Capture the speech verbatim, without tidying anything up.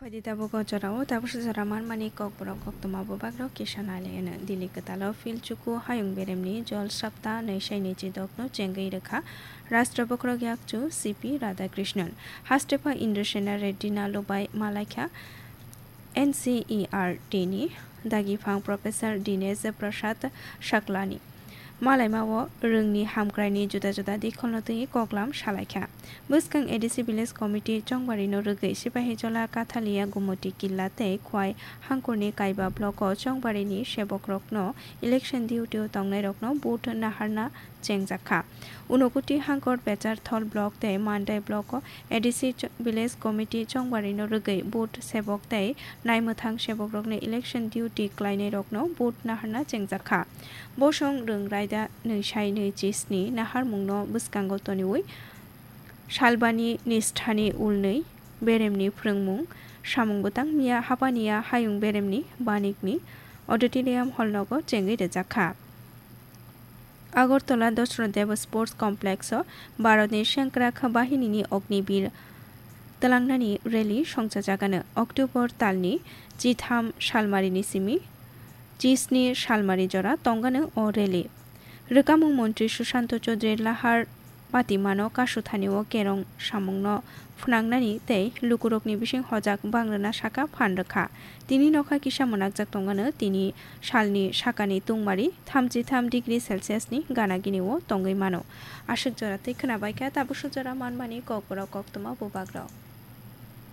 Phaidi tabuk o jorao tabuk jora manmani kokborok koktwma bubagrok kisa nailaino. Delhi kwtalo Phil Chuku hayung beremni Jol Sapta nwi sai nwi chidokno chengwi rwkha Rashtra Bokhorok Yakchu C P Radhakrishnan. Hastepha Indrasena Reddy Nalubai malaikha N C E R T ni dagiphang Professor Dinesh Prasad Shaklani. Malaima o rwngni hamkraini juda juda dikholno twi koklam salaikha. Bwskang A D C Village Committee Chongbarino rwgwi Sipahijola Kathalia Gumoti Killa tei Khwai Hangkorni Kaiba block o Chongbarini sebokrokno election duty o tongnairokno vote naharna chengjakha. Unokoti Hangkor Pecharthol block tei Mandai block o A D C Ch-, Village Committee Chongbarino rwgwi vote sebok tei naimwthang sebokrokno election duty klainairokno vote naharna chengjakha. Bosong rwng raida nwi sai nwi chisni naharmungno bwskango toniwi salbani nisthani ulnwi beremni phrwngmung samung bwtang miya hapaniya hayung beremni banikni auditorium hall nogo chengwi rwjakha. Agartala Dashrath Deb Sports Complex o Bharatni Sengkrak Bahinini Ognibir twlangnani rally songchajagano. October talni chitham salmarini simi chisni salmari jora tongano o rally. Rwkamung montri Sushanto Chaudhary lahar patimano kasuthani o kerong samungno phnangnani tei lukurokni bising hojak bangrwna saka phan rwkha. Tini nokha kisa mwnakjak tongano tini salni sakani tungmari thamchi tham degree Celsius ni gana gini o tongwi mano. Aswk jora tei khwnabaikha tabuk swk jora manmani kokborok koktwma bubagrok.